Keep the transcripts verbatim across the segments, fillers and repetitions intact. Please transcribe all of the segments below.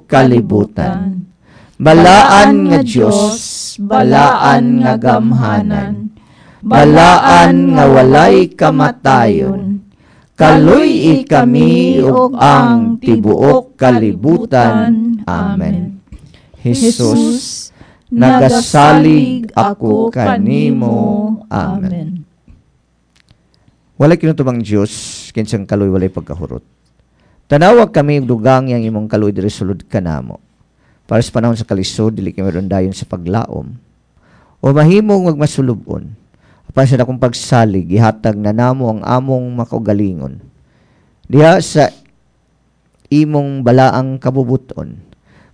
kalibutan. Balaan nga Dios, balaan nga gamhanan, balaan nga walay kamatayon, kaluy-i kami ug ang tibuok kalibutan. Amen. Jesus, nagasalig ako kanimo. Amen. Walay kinutubang Dios, kinsang kaluoy walay pagkahurot. Tanawa kami ug dugangi ang imong kaluoy diri sulod kanamo. Para sa panahon sa kalisod, dili kami dayon sa paglaom. O mahimong magmasulubon. Apan sa dakong pagsalig, ihatag na namo ang among makaugalingon. Diha sa imong balaang kabubuton,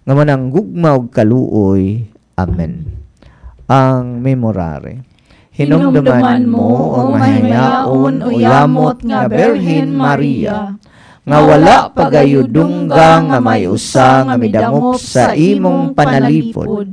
nga manang gugma ug kaluoy. Amen. Ang Memorare. Hinumduman mo, o mahimayaon o yamot nga Birhen Maria, nga wala pagayo dungga nga may usa nga midangop sa imong panalipod,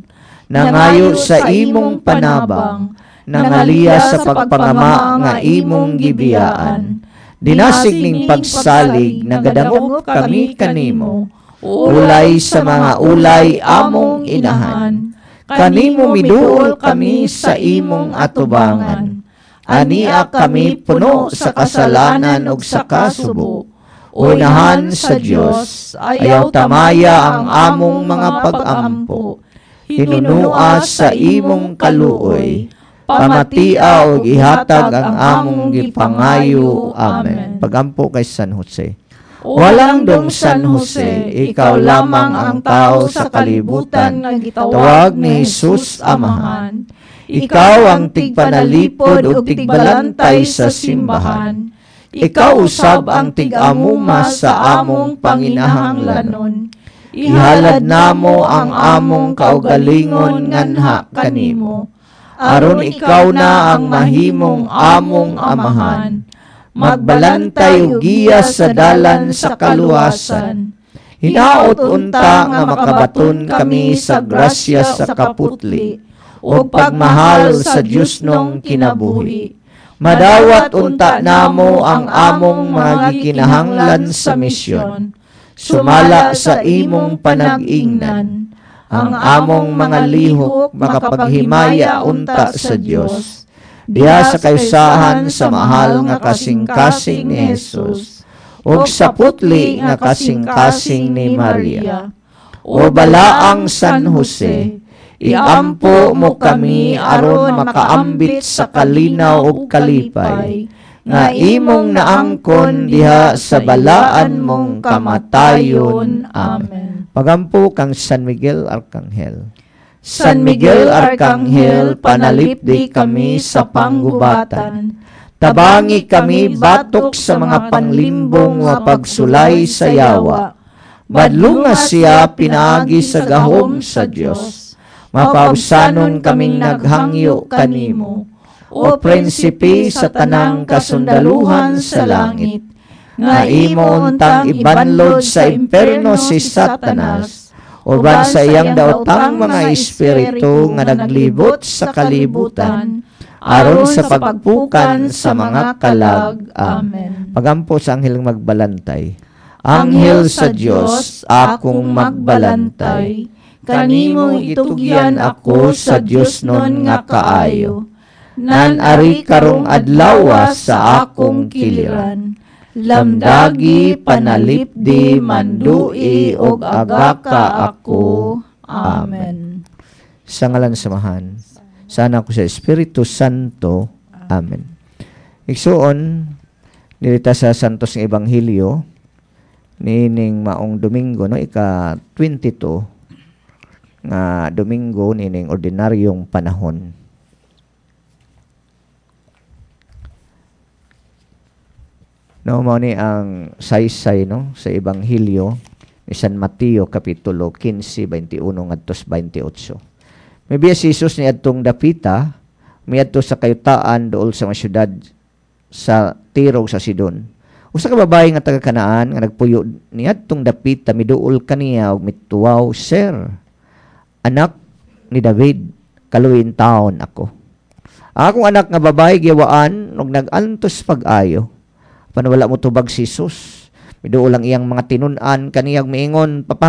nangayo sa imong panabang, nangaliya sa pagpangama nga imong gibiyaan. Dinasig ning pagsalig, nagadangop kami kanimo, ulay sa mga ulay among inahan. Kanimo miduol kami sa imong atubangan. Ania kami puno sa kasalanan ug sa kasubo. Unahan sa Dios, ayaw tamaya ang among mga pag-ampo. Hinunua sa imong kaluoy, pamatia og ihatag ang among gipangayo. Amen. Pagampo kay San Jose. Walang dong San Jose, ikaw lamang ang tao sa kalibutan, nga gitawag tawag ni Jesus Amahan. Ikaw ang tigpanalipod ug tigbalantay sa simbahan. Ikaw usab ang tig-amuma sa among panginahanglanon. Ihalad namo ang among kaugalingon nganha kanimo. Aron ikaw na ang mahimong among amahan. Magbalantay ug giya sa dalan sa kaluwasan. Hinaot unta nga makabaton kami sa grasya sa kaputli ug pagmahal sa Diosnong kinabuhi. Madawat unta namo ang among mga gikinahanglan sa misyon. Sumala sa imong panag-ingnan, ang among mga lihok makapaghimaya unta sa Dios. Diha sa kaysahan sa mahal nga kasing-kasing ni Jesus ug sa putli nga kasing-kasing ni Maria. O balaang San Jose, iampo mo kami aron makaambit sa kalinaw ug kalipay nga imong naangkon diha sa balaan mong kamatayon. Amen. Pagampo kang San Miguel Arcangel. San Miguel Arcangel, panalipdi kami sa panggubatan. Tabangi kami batok sa mga panglimbong nga pagsulay sa yawa. Badlunga siya pinaagi sa gahom sa Dios. Mapaubsanon kaming naghangyo kanimo. O prinsipe sa tanang kasundaluhan sa langit, nga imo untang ibanlod sa imperno si Satanas, uban sa iyang daotang mga espiritu nga naglibot sa kalibutan, aron sa pagpukan sa mga kalag. Amen. Pagampo sa anghel magbalantay. Anghel sa Dios, akong magbalantay. Kanimo itugyan ako sa Diosnon nga kaayo. Nan-ari karong adlawa sa akong kiliran. Lamdagi, panalipdi, mandui, og agaka ako. Amen. Sa ngalan sa Amahan, sa Anak ug sa Espiritu Santo. Amen. Igsuon, diri ta sa Santos nga Ebanghelyo, niining maong Domingo, no, ika twenty-two nga Domingo niining ordinaryong panahon. No, mao ni ang saysay, no, sa Ebanghelyo ni San Mateo kapitulo fifteen, twenty-one ngadto sa twenty-eight. Mibiya si Jesus niadtong dapita, miadto sa kayutaan duol sa mga syudad sa Tiro sa Sidon. Usa ka babae nga taga Kanaan nga nagpuyo niadtong dapita miduol kaniya ug mituwaw, "Sir, anak ni David, kaluoyin taon ako. Ang akong anak nga babae giyawaan ug nag-antos pag-ayo." Apan wala mo tubag si Jesus. Miduol ang iyang mga tinun-an kaniyang miingon,